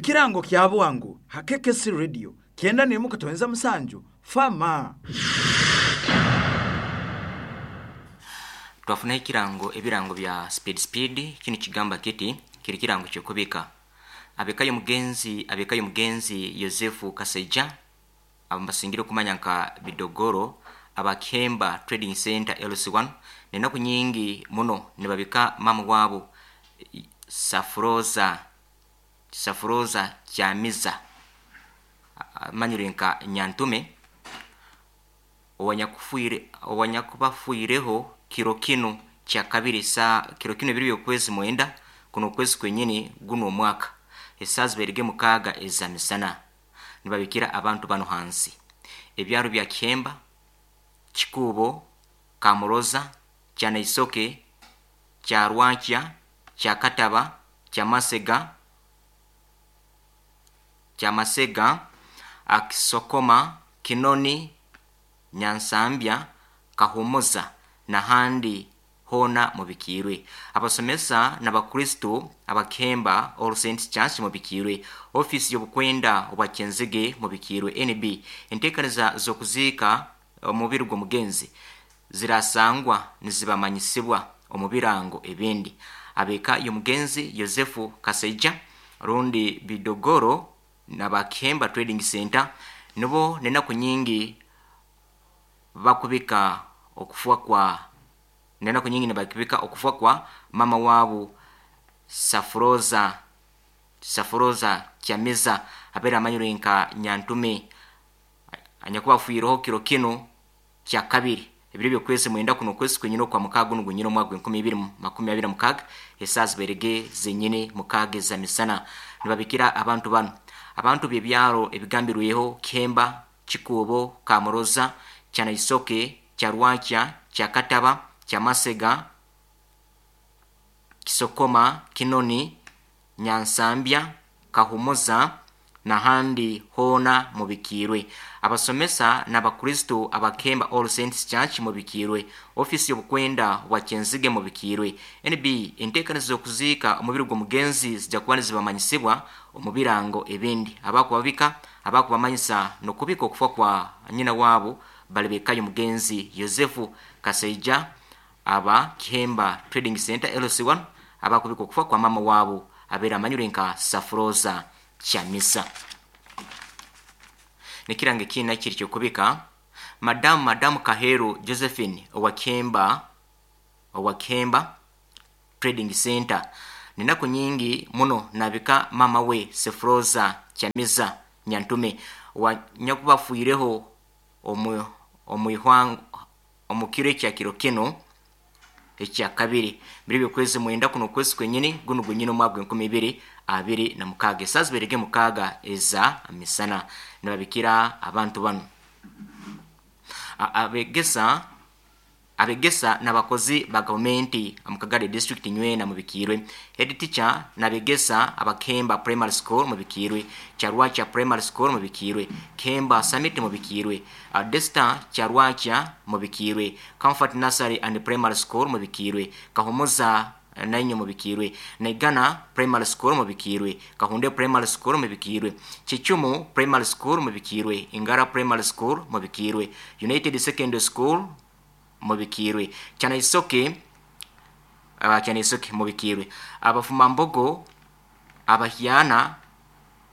Ekirango kya bwangu ha KKC Radio 91.7 Fama. Twafunaho ekirango ebirango bya speed speed kinu kigamba kiti kiri kirango kyokubika abekayo mugenzi abekayo mugenzi Yosefu Kaseja abasingire okumanya nka Bidogoro abakemba Trading Center LC1 nenaku nyingi muno nibabika mama wabo Safuroza Safuroza Kyamiza amanyire nka Nyantume owanyakufuire owanyakubafuireho kiro kinu kya kabiri sa kiro kinu ebiri byokwezi mwenda kuno okwezi kwenyini guno omwaka esaaha zibairege mukaaga eza misana nibabikira abantu bano hansi ebyaro bya Kihemba, Kikuubo, Kamuroza, Kyanaisoke, Kyarwankya, Kyakataba, Kyamasega, Kyamasega, Akisokoma, Kinoni, Nyansambya, Kahumuza n'ahandi hoona mubikiirwe. Abasomesa n'abakristo abakemba All Saints Church mubikiirwe. Ofiisi y'obukwenda obwa Kyenzige mubikiirwe. NB enteekaniza z'okuziika omubiri gw'omugenzi zirasangwa nizibamanyisibwa omu birango ebindi. Ab'eka y'omugenzi Yosefu Kaseija rundi Bidogoro n'abakemba Trading Center nibo n'enaku nyingi bakubika okufa kwa nenaku nyingi nibakubika okufa kwa mama waabo Safuroza Safuroza Kyamiza abeera amanyirwe nka Nyantume anyakuba afiireho kiro kinu kya kabiri ebiro byokwezi mwenda kuno okwezi kwenyini okwa mukaaga gunu gwenyini omwaka gw'enkumi ibiri makumi abiri na mukaaga esaaha zibairege zenyini mukaaga eza misana nibabikira abantu banu abantu b'ebyaro ebigambirweho Kihemba, Kikuubo, Kamuroza, Kyanaisoke, Kyarwankya, Kyakataba, Kyamasega, Kisokoma, Kinoni, Nyansambya, Kahumuza n'ahandi hoona mubikiirwe. Abasomesa n'abakristo abakemba All Saints Church mubikiirwe. Ofiisi y'obukwenda bwa Kyenzige mubikiirwe. NB enteekaniza z'okuziika omubiri gw'omugenzi zijja kuba nizibamanyisibwa omu birango ebindi. Abakubabika abakubamanyisa n'okubika okufa kwa nyina waabo bali b'eka y'omugenzi Yosefu Kaseija aba Kihemba Trading Center LC1 abakubika okufa kwa mama waabo abeera amanyirwe nka Safuroza Kyamisa. Nekirango ekindi nakyo kiri kyokubika Madamu Madamu Kaheru Josephine owa Kihemba owa Kihemba Trading Center nenaku nyingi muno nabika mama we Sefuroza Kyamiza Nyantume wanyakuba afiireho omu omu omu kiro ekya kiro kinu ekya kabiri biri byokwezi mwenda kuno okwezi kwenyini gunu gwenyini omwaka gw'enkumi ibiri abiri na mukaaga esaaha zibairege mukaaga eza misana nibabikira abantu banu abegesa abegesa n'abakozi ba gavumenti omu Kagadi district nywena mubikiirwe. Head teacher n'abegesa abakemba Primary School mubikiirwe. Kyarwakya Primary School mubikiirwe. Kemba Summit mubikiirwe. Desta Kyarwakya mubikiirwe. Comfort Nursery and Primary School mubikiirwe. Kahumuza nainyo mubikiirwe. Naigana Primary School mubikiirwe. Kahunde Primary School mubikiirwe. Kichumu Primary School mubikiirwe. Ingara Primary School mubikiirwe. United Secondary School mubikiirwe. Kyanaisoke Kyanaisoke mubikiirwe. Abafumambogo abahyana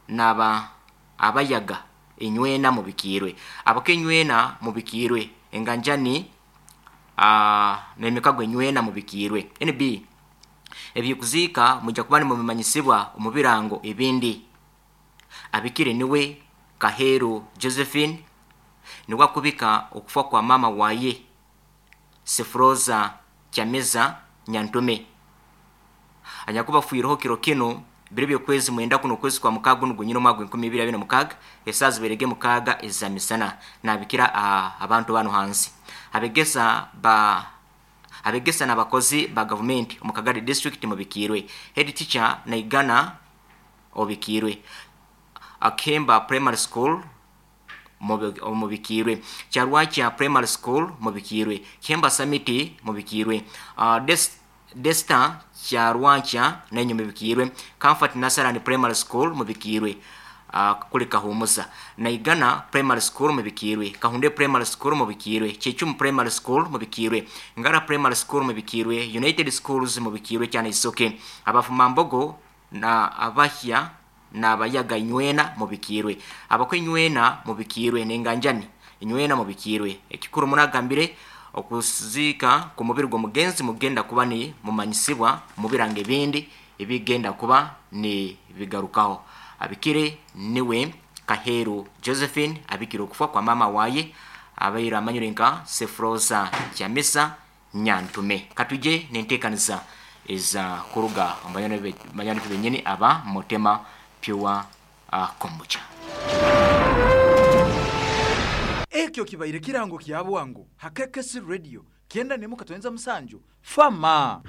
n'aba abayaga enywena mubikiirwe. Abakenywena mubikiirwe. Enganjani n'emikago enywena mubikiirwe. NB eby'okuziika mwija kuba nimubimanyisibwa omu birango ebindi. Abikire niwe Kaheru Josephine niwe akubika okufa kwa mama waye Sefuroza Kyamiza Nyantume anyakuba afiireho kiro kinu biro byokwezi mwenda kuno okwezi kwa mukaaga gunu gwenyini omwaka gw'enkumi ibiri abiri na mukaaga esaaha zibairege mukaaga eza misana nabikira abantu banu hansi abegesa ba abegesa n'abakozi ba gavumenti omu Kagadi district mubikiirwe. Head teacher Naigana obikiirwe. Akemba Primary School mubikiirwe. Kyarwakya Primary School mubikiirwe. Kemba Summit mubikiirwe. Desta Kyarwankya nainyu mubikiirwe. Comfort Nasarani Primary School mubikiirwe. Kuri Kahumuza. Naigana Primary School mubikiirwe. Kahunde Primary School mubikiirwe. Kyechumu Primary School mubikiirwe. Ngara Primary School mubikiirwe. United Schools mubikiirwe cyane Isoke. Abafumambogo na abahya n'abayaga inywena mubikiirwe. Abakwe inywena mubikiirwe n'enganjani inywena mubikiirwe. Ekikuru munagambire okuziika ku mubiri gw'omugenzi mugenda kuba ni mumanyisibwa mu birango ebindi ebigenda kuba ni bigarukaho. Abikire niwe Kaheru Josephine abikire okufa kwa mama waye abaire amanyire nka Sefrosa Chamisa Nyantume. Katuje nenteekaniza eza kuruga omu banywani benyini aba Mutema Pure Kombucha. Ekyo kibaire kirango kya bwangu ha KKC Radio 97.7 Fama.